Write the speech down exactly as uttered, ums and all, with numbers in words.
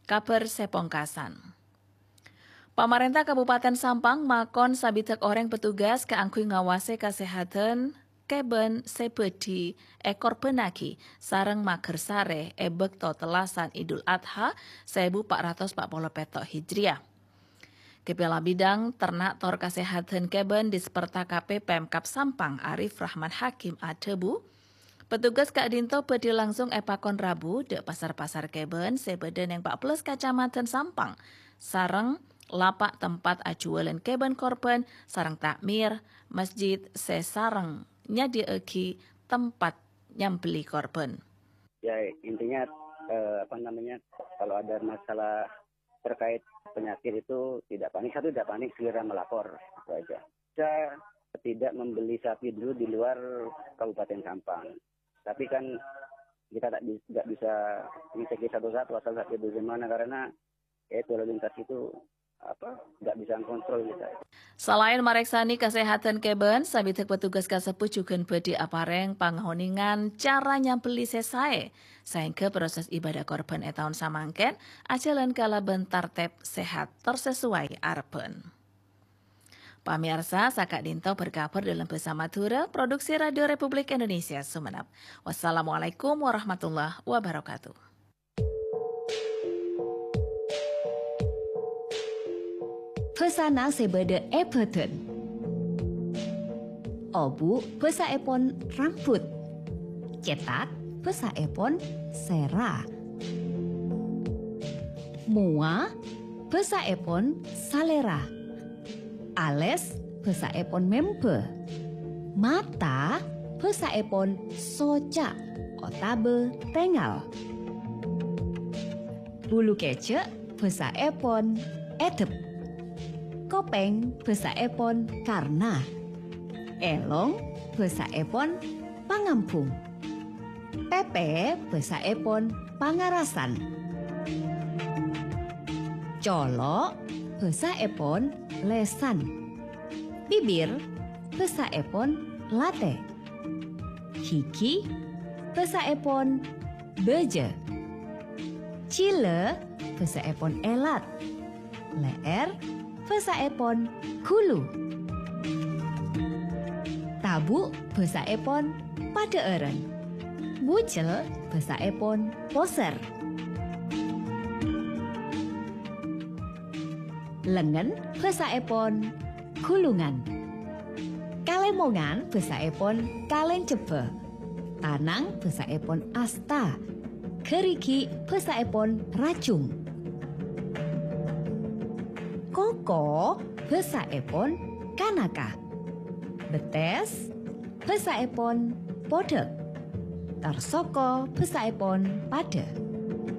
Kabhâr sè pongkasan. Pamarènta Kabupaten Sampang makon sabidhâk orèng petugas kaangghuy ngawasè kasèhadhân kèbân sè bhâdhi èkorbhânnaghi sareng maghârsarè è bâkto tellasan Idul Adha sèbu pa' ratos pa' polo pètto' Hijriah. Kepala Bidang Ternak Tor Kasèhadhân Kèbân Disperta K P Pemkab Sampang Arif Rahman Hakim adhâbu, petugas ka'dinto bhâdhi langsung èpakon rabu dâ' pasar-pasar kèbân sè bâdâ neng pa' bellâs kacamadhân Sampang, sareng lapa' tempat ajuwâlân kèbân korbhân sareng takmir, masjid sè sareng nyadhiyaaghi tempat nyambelli korbhân. Ya, intinya, eh, apa namanya, kalau ada masalah terkait penyakit itu tidak panik, satu tidak panik, segera melapor, itu aja. Kita tidak membeli sapi dulu di luar Kabupaten Sampang. Tapi kan kita tak bi-, nggak bisa ngecek satu-satu asal sapi itu di mana, karena ya itu lalu lintas itu apa, nggak bisa kontrol kita. Salaèn marèksanè kasèhadhân kèbân, sabidhâk petugas kasebbhut jhughân bhâdhi aparèng pangahonèngan cara nyambelli sè saè, saèngghâ proses ibadah korbhân è taon samangkèn ajhâlân kalabân tartèb sèhat tor sasowai arebbhân. Pamèyarsa, saka'dinto berkabar dalam Bhâsa Madhurâ, produksi Radio Republik Indonesia Sumenep. Wassalamualaikum warahmatullahi wabarakatuh. Bhâsana sè bâdâ è bhâdhân. Obu' bhâsaèpon rambut. Cètak bhâsaèpon sèra. Mowa bhâsaèpon salèra. Alès bhâsaèpon membhâ. Mata bhâsaèpon soca' otabâ tèngal. Bulu kèjhâ' bhâsaèpon èdhep. Kopèng bhâsaèpon karna. Èlong bhâsaèpon pangambhung. Pèpè bhâsaèpon pangarasan. Colo' bhâsaèpon lèsan. Bibir bhâsaèpon latè. Ghighi bhâsaèpon bâjâ. Jhilâ bhâsaèpon èlat. Lè'èr bhâsaèpon ghulu. Tabu' bhâsaèpon padhâ'ârân. Bujel bhâsaèpon posèr. Lengngen bhâsaèpon ghulungan. Kalèmongan bhâsaèpon kalèncebbhâ. Tanang bhâsaèpon asta. Ghârighi' bhâsaèpon rajung. Koko bhâsaèpon kanaka. Bettès bhâsaèpon podhâk. Tor soko bhâsaèpon padhâ.